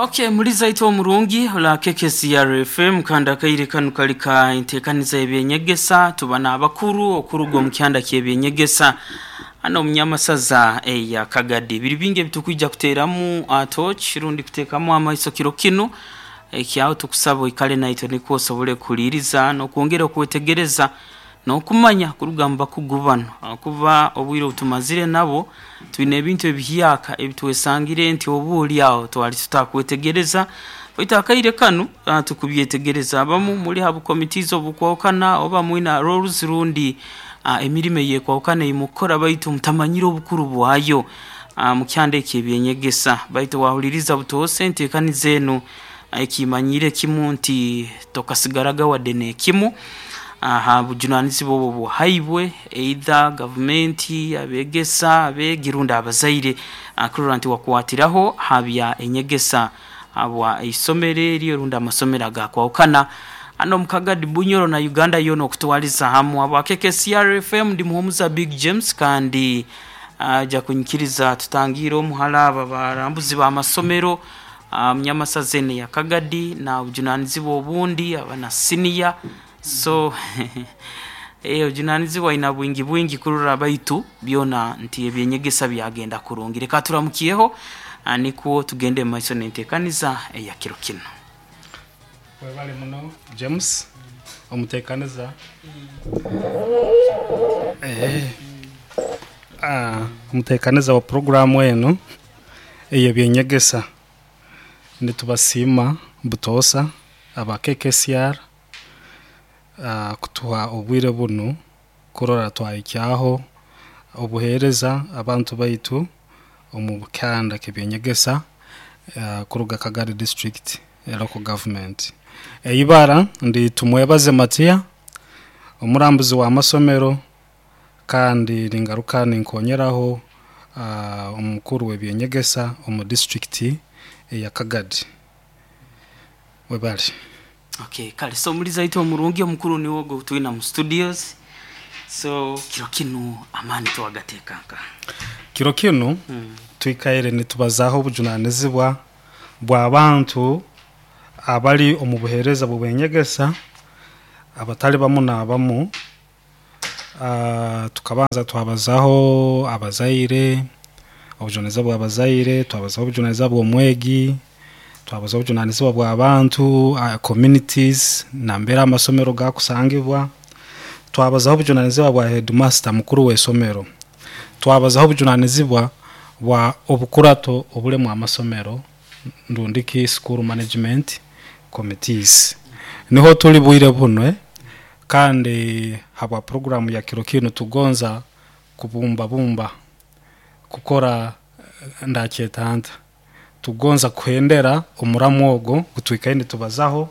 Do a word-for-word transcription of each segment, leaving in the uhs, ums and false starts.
Okay, muliza itwa omurungi ola K K C R F M, kandi akaire kanu kali ka enteekaniza y'ebyenyegesa. Tuba n'abakuru okuruga omu kyanda ky'ebyenyegesa hano omunyamasaza eya Kagadi. Biri bingi ebitukwija kuteeramu uh, torch rundi kuteekamu amaiso kiro kinu ekyaho. Tukusaba oikale naitwe nikwo osobole kuhuliiriza n'okwongera okwetegereza n'okumanya kuruga mu bakugu bano, kuba obwire obutumazire nabo twine ebintu ebihyaka ebitwesangire nti oba oli aho twali tutakwetegereza, baitu akaire kanu uh, tukubyetegereza. Abamu muli ha bucommittees obukwahukana oba mwina roles rundi uh, emirimo eyekwahukana eyimukukora, baitu mutamanyire obukuru bwayo uh, mu kyanda eki ebyenyegesa. Baitu wahuliriza butoose enteekaniza enu, ekimanyire kimu nti tokasigaraga wadde n'ekimu aha bujunanizibwa obwo buhaibwe either gavumenti, abegesa, abeegi rundi abazaire, kurora nti wakwatiraho habya enyegesa habwa isomero eryo rundi amasomero agakwahukana hano omu Kagadi, Bunyoro na Uganda yoona okutwaliza hamu. Habwa K K C R F M, ndi Muhumuza Big James, kandi ajja kunyikiriza tutangiire omuhala aba barambuzi b'amasomero munyamasaza eno ya Kagadi na obujunanizibwa obundi aba na senior. So eh, obujunanizibwa aina bwingi bwingi kurora baitu byona nti ebyenyegesa byagenda kurungi. Reka turamukiyeho nikwo tugende mu maiso n'enteekaniza eya kiro kino. Webale muno James omuteekaniza. Eh, ah, omuteekaniza wa puroguramu eno ey'ebyenyegesa, nitubasiima butoosa aba K K C R ah, kutuha obwire bunu kurora twahikyaho obuheereza abantu baitu omu kyanda ky'ebyenyegesa uh, kuruga Kagadi District Local Government. Eibara ndi Tumwebaze Matiya, omurambuzi w'amasomero, kandi ningaruka ninkonyeraho uh, omukuru w'ebyenyegesa omu district eya Kagadi. Webale. Okay, kale, so muliza itwe omurungi, omukuru niwo gwe twina mu studios. So kiro kinu amaani twagateekanka? Kiro kinu mm. twikaire nitubazaho obujunanizibwa bw'abantu abali omu buheereza bw'ebyenyegesa abatali bamu n'abamu. uh, tukabanza twabazaho abazaire, obujunanizibwa bw'abazaire, twabazaho obujunanizibwa bw'omwegi, twabazaho obujunanizibwa bw'abantu, uh, communities nambere amasomero gakusangibwa, twabazaho obujunanizibwa bwa headmaster, mukuru w'esomero, twabazaho obujunanizibwa bwa obukurato obulemu amasomero ndundiki school management committees. Niho tuli bwire buno, eh? Kandi habwa programu ya kiro kinu tugonza kubumbabumba kukora eh, ndakyetanta tugonza kuhendera omuramu ogwo gutwikaire nitubazaho,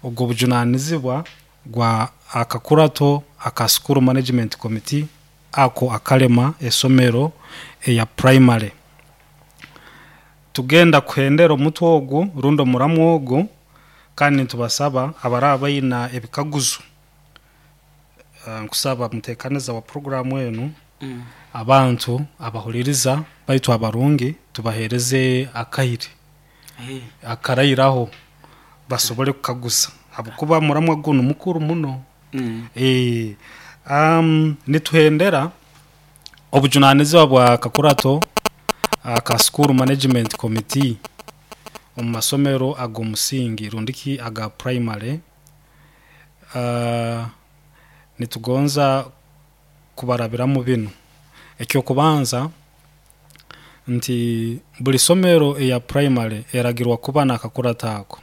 ogwo bujunanizibwa gwa akakurato aka school management committee ako akalema esomero eya primary. Tugenda kuhendera omutwe ogwo rundi omuramu ogwo, kandi nitubasaba abaraba baina ebikaguzo, uh, nkusaba mutekaniza wa programu enu, Mm. abantu abahuliriza baitu abarungi tubahereze akaire Eh, akarairaho basobole kukaguza, habwokuba muramwa guno mukuru muno. mm. Eh, um, nituhendera obujunanizibwa bwa kakurato aka school management committee omu masomero ag'omusingi rundiki aga primary. uh, nitugonza kubarabiramu binu. Ekyokubanza nti buli somero eya primary eragirwa kuba n'akakurato ako,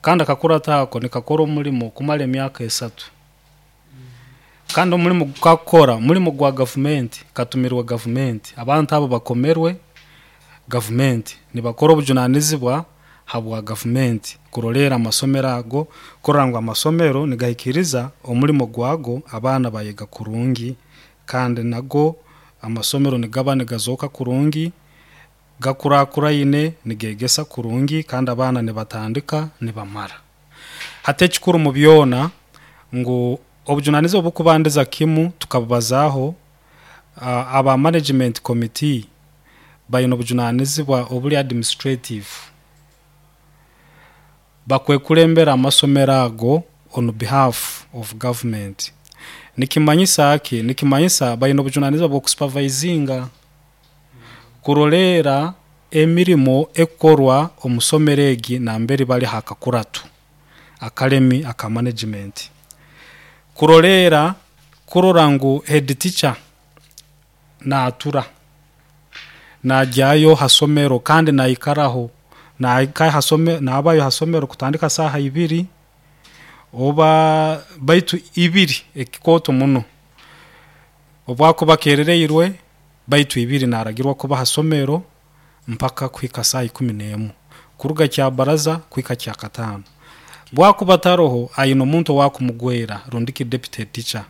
kandi akakurato ako nikakora omulimo kumara emyaka esatu, kandi omulimo gukakukora mulimo gwa gavumenti, katumirwe gavumenti. Abantu abo bakomerwe gavumenti, nibakora obujunanizibwa habwa gavumenti kurolera amasomero ago, kurora ngu amasomero nigahikiriza omulimo gwago, abaana bayega kurungi, kandi nago amasomero nigaba nigazooka kurungi, gakurakuraine, nigegesa kurungi, kandi abaana nibatandika nibamara. Hati ekikuru mu byona ngu obujunanizibwa obukubandiza kimu tukabubazaho, uh, aba management committee baine obujunanizibwa obuli administrative. Bakwekulembera amasomero ago on behalf of government. Nikimanyisa ki? Nikimanyisa baine obujunanizibwa bw'okusupervisinga, kuroleera emirimo ekukorwa omu somero egi nambere bali hakakuratu akalemi aka management. Kuroleera kurora ngu head teacher naatura, najyayo ha somero kandi naikaraho, naika hasome nabayo ha somero kutandika saaha ibiri oba baitu ibiri ekikooto muno, obwakuba akeerereirwe baitu ibiri naaragirwa kuba ha somero mpaka kuhika saaha ikumi n'emu, kuruga Kyabaraza kuhika Kyakataano. Bwakuba taroho aine omuntu owaakumugwera rundi ki deputy teacher,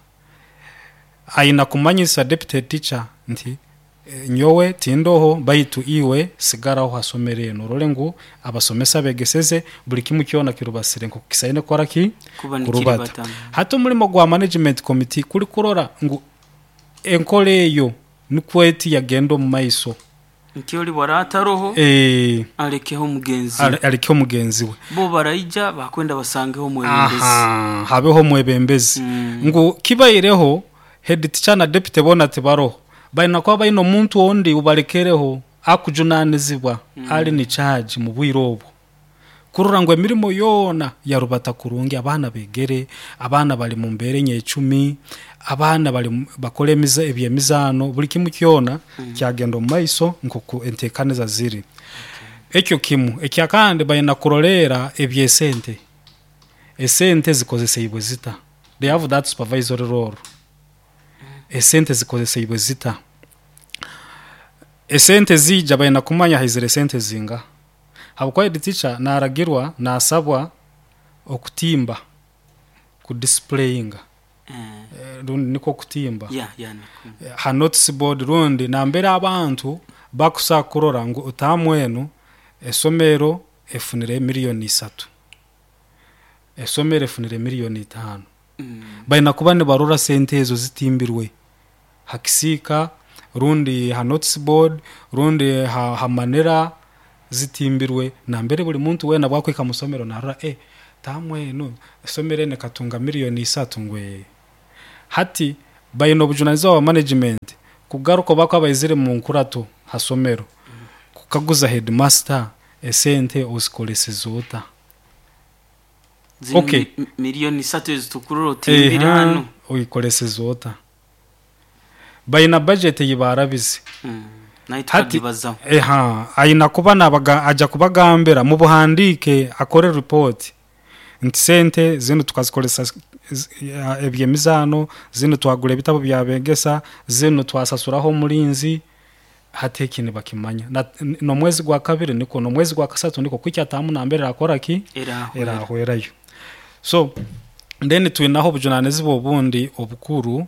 aina kumanyisa deputy teacher nti nyowe tindoho baitu iwe sigaraho ha somero enu orole ngu abasomesa begeseze buli kimu kyona kirubasire nk'oku kisaine kukora ki? Kuba Kurubata. nikiribata. Hati omulimo gwa management committee kuli kurora ngu enkora eyo nikwo eti yagenda omu maiso. Nti oli bwaraataroho Eh, alekeho mugenzi ale- alekeho mugenzi we. Bo baraija bakwenda basangeho omwebembezi. Aha, habeho omwebembezi. Mm. Ngu kibaireho head teacher na deputy bona tibaroho, baina kuba baine omuntu ondi ubalekereho akujunanizibwa ali ni charge mu bwire obwo, kurora ngu emirimo yoona yarubata kurungi, abaana begere, abaana bali mu mbeera enyecumi, abaana bali mu- bakora emiza ebyemizaano, buli kimu kyona kyagenda omu maiso nkoku enteekaniza ziri. Ekyo kimu. Ekyakandi baina kuroleera ebyesente, esente zikozeseibwe zita. They have that supervisory role. Esente zikozeseibwe zita, esente ziija baina kumanya haizire esente zinga, habwokuba head teacher naaragirwa, naasabwa okutimba, kudisplayinga, Eh, eh, rundi nikwo kutimba ya ya niko. Ha notice board rundi nambere abantu bakusa kurora ngu otaamu enu esomero efunire miliyoni isatu, esomero efunire miliyoni itaano. Mm. Baina kuba nibarora sente ezo zitimbirwe hakisiika rundi ha notice board rundi ha, ha manera zitimbirwe nambere buli muntu weena bwakwika musomero narora, eh, taamu enu esomero enu ekatunga miliyoni isatu ngwe. Hati baine obujunanizibwa bwa management kugaruka bako baizire mu nkurato ha somero kukaguza headmaster, esente ozikoleseze ota? Zino Okay. mi- miliyoni isatu ezitukurora otimbire Eha, hano oyikoleseze ota? Baina budget eyibarabize. Mm. Naye Hati tukagibazaho. Eha, aina kuba nabaga aja kubagambira mu buhandike, akore report nti sente zino tukazikolesa z- ya- ebyemizaano, zino twagura ebitabo byabegesa, zino twasasuraho omulinzi. Hati eki nibakimanya. Na- n- n'omwezi gwa kabiri niko, n'omwezi gwa kasatu niko, kwikya tamu nambere akora ki? Erahwera. Erahwerayo. So then twinaho obujunanizibwa obundi obukuru,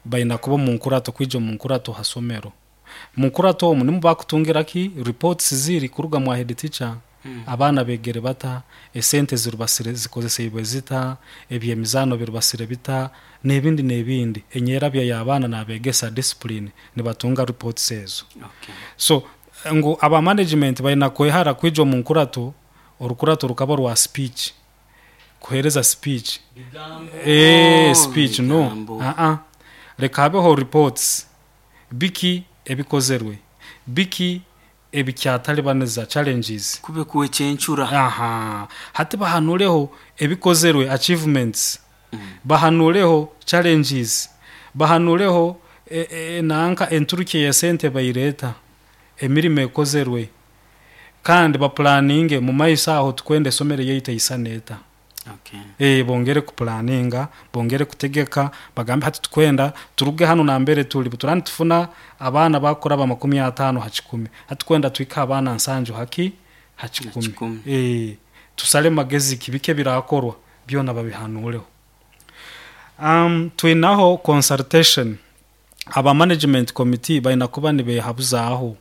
baina kuba omu nkurato, kwija omu nkurato ha somero. Mu nkurato omu nimu bakutungira ki? Reports ziri kuruga mwa head teacher. Mm. Abaana begere bata, esente zirubasire zikozeseibwe zita, ebyemizaano birubasire bita, n'ebindi n'ebindi, enyerabya y'abaana nabegesa discipline, nibatunga reports ezo. Okay. So ngu aba management baina kwehara kwija omu nkurato, orukurato rukaba rwa speech, kuhereza speech. Eh, speech no. Bigambo. uh -uh. Leka habeho reports, biki ebikozerwe, biki ebikyatalibaniza, challenges. Kube kuwekyencura. Aha, hati bahanureho ebikozerwe, achievements, Mm. bahanureho challenges, bahanureho e, e, nanka enturuki ya sente bayireta, emirimo ekozerwe, kandi baplaninge mu maiso aho tukwenda esomero yaitu eisana eta. Okay. Eh, bongere kuplaninga, bongere kutegeka, bagambe hati tukwenda turuge hano nambere tuli turani tufuna abaana bakora ba makumi atano ha kikumi, hati kwenda twika abaana nsanju haki ha kikumi. Kikumi. Eh, tusale magezi kibike birakorwa byona babihanureho. um, twinaho consultation. Aba management committee baina kuba nibehabuzaaho,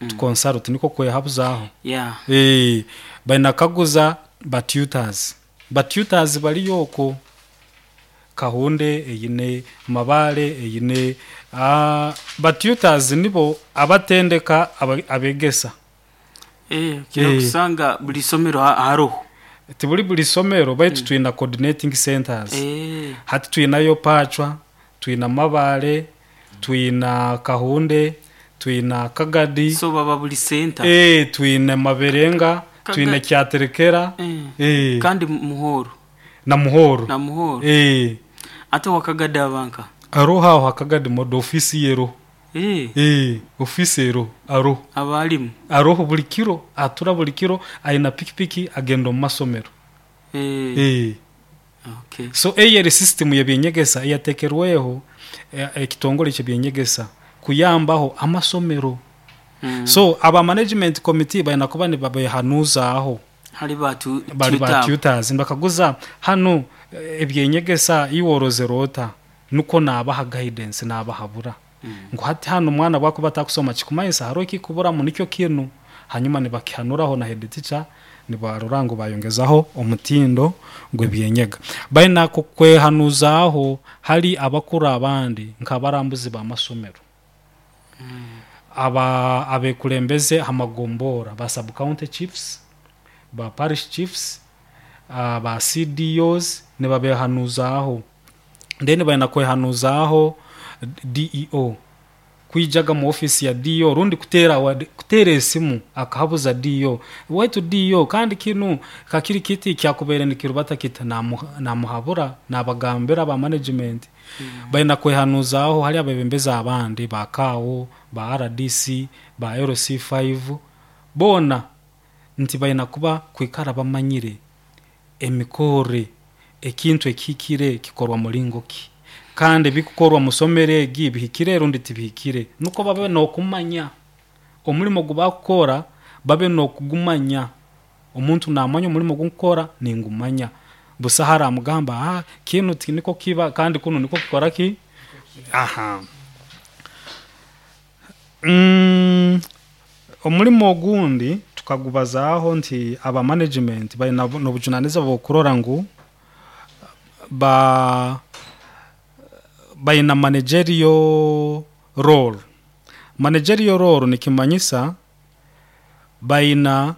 mm. consult niko kwehabuzaaho. Yeah. Eh, baina kaguza ba tutors, ba tutors baliyo oko Kahunde eyine, Mabale eyine. uh, ba tutors nibo abatendeka aba- abegesa. Eh, kira Eh. kusanga buli somero ha- haroho. Tibuli buli somero, baitu twina coordinating centers. Eh. Hati twinayo Pachwa, twina Mabale, twina Kahunde, twina Kagadi. So baba buli center. Eh, twina Maberenga, Kaga- twina Kyaterekera. Eh. Eh, kandi Muhoro. Na Muhoro. Na Muhoro. Eh. Ate wakagadi abanka aroho aho hakagadi modo ofisi yero. Eh. Eh, ofisi ero aroho. Abalimu. Aroho buli kiro, atura buli kiro, aina pikipiki agenda omu masomero. Eh. Eh. Okay. So eyeri system yebyenyegesa eyatekerweho eh, ekitongole kyebyenyegesa kuyambaho amasomero. Mm. So aba management committee balina kuba nibabehanuza aho. Hari batu Bali ba tutor. tutors nibakaguza hanu, eh, ebyenyegesa iworozera ota, nuko nabaha guidance, nabahabura Mm. ngu hati hano omwana bwakuba atakusoma kikumanyisa hariho ekikuburamu nikyo kinu, hanyuma nibakihanuraho na head teacher, nibarora ngu bayongezaho omutindo gw'ebyenyega. Balina kukwehanuzaho hari abakuru abandi nk'abarambuzi b'amasomero, aba abekulembeze amagombora, ba sub county chiefs, ba parish chiefs, uh, ba C D Os, nibabehanuzaho. Then balina kwehanuzaho D E O, kwijaga mu ofisi ya D E O rundi kutera wa- kutera esimu akahabuza D E O waitu D E O, kandi kinu kakiri kiti kyakubeire nikirubata kita, namu- namuhabura, nabagambira ba management. mm. Balina kwehanuzaho hari abebembezi abandi ba kawo, ba R D C, ba L C five bona, nti balina kuba kwikara bamanyire emikore, ekintu ekihikire kikorwa mulingo ki, kandi bikukorwa musomero egi bihikire rundi tibihikire, nuko babe nokumanya omulimo gubakukora, babe nokugumanya. Omuntu namanya omulimo gukukora ningumanya, busa haramugamba, ah, kinu ti niko kiba kandi kuno niko kikora ki. Aha, mm, omulimo ogundi tukagubazaaho nti aba management balina nobujunanizibwa bwokurora ngu ba balina managerial role. Managerial role nikimanyisa balina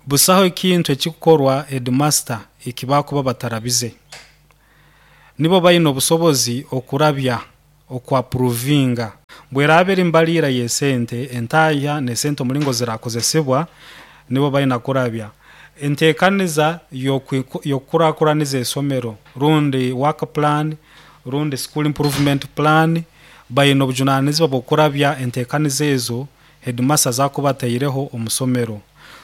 busaho ekintu ekikukorwa headmaster ekibakuba batarabize, nibo balina obusobozi okurabya okwaprovinga bweraba eri mbalira yesente, entaya nesente omulingo zirakozesebwa, nibo balina kurabya entekaniza yokukurakuraniza esomero, rundi work plan, rundi school improvement plan. Balina obujunanizibwa bwokurabya entekaniza ezo headmaster zakuba ataireho omusomero.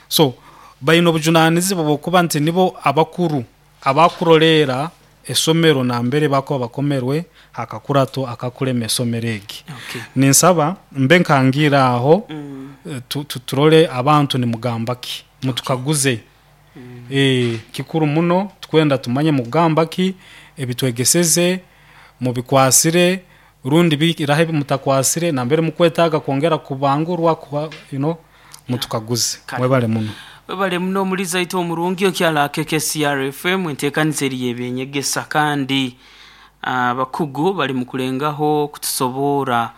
So balina obujunanizibwa bwokuba nti nibo abakuru abakurolera esomero nambere bakuba bakomerwe hakakurato akakulema esomero egi. Okay. Ninsaba mbe nkangira aho. Mm. eh, tu- tu- turole abantu nimugamba ki, mutukaguze. mm. eh kikuru muno tukwenda tumanye mugamba ki, ebitwegeseze mubikwasire rundi birahe mutakwasire, nambere mukwetaga kwongera kubangurwa kuba, you know, mutukaguze. Kale. Mwebale muno. Webale muno omuliza ite omurungi okyala K K C R F M, enteekaniza eri y'ebyenyegesa, kandi abakugu bali mu kulengaho kutusoboora,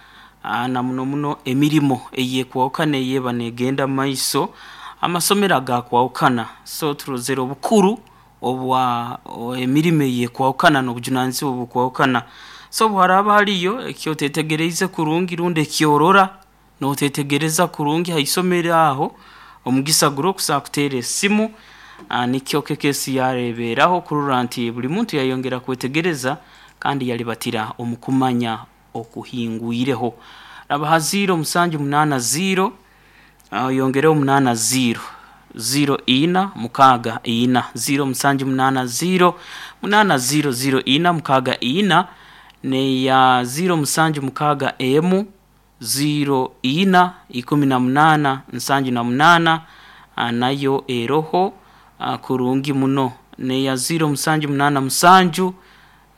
ah, na muno muno emirimo eyekwawukana eyeba negenda mu maiso amasomero agakwawukana. So turozere obukuru obwa o- emirimo eyekwawukana n'obujunanizibwa obukwawukana. So bwaraba hariyo ekyotetegereize kurungi rundi ekyorora notetegereza kurungi haisomero aho, omugisa guri okusobola kuteera esimu. ah, nikyo kekesi yareeberaho kurora nti buli muntu yayongera kwetegereza kandi yalibatira omu kumanya okuhingwireho. Raba ha ziro musanju munaana ziro, oyongereho munaana ziro ziro ina mukaaga ina, ziro musanju munaana ziro munaana ziro ziro ina mukaaga ina, neya ziro musanju mukaaga emu ziro ina ikumi na munaana nsanju na munaana, ah, nayo eroho ah, kurungi muno, neya ziro musanju munaana musanju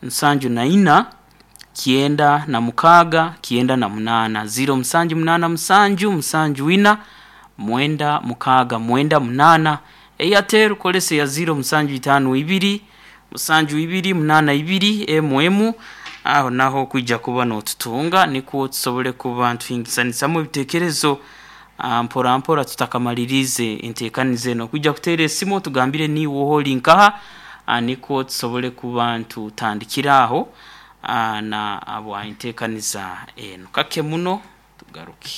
nsanju na ina kienda na mukaaga kienda na munaana, ziro musanju munaana musanju musanju ina mwenda mukaaga mwenda munaana. Airtel kolesa ya ziro musanju itaano ibiri musanju ibiri munaana ibiri emu, aho naho kwija kuba notutunga, nikwo tusobole kuba ntuhingisanisamu ebitekerezo. ah, mpora mpora tutakamalirize enteekaniza eno. Kujja kuteera esimu tugambire niiwe ori nkaha, ah, nikwo tusobole kuba ntutandikira aho, ah, na abwa enteekaniza eno kake muno tugaruke.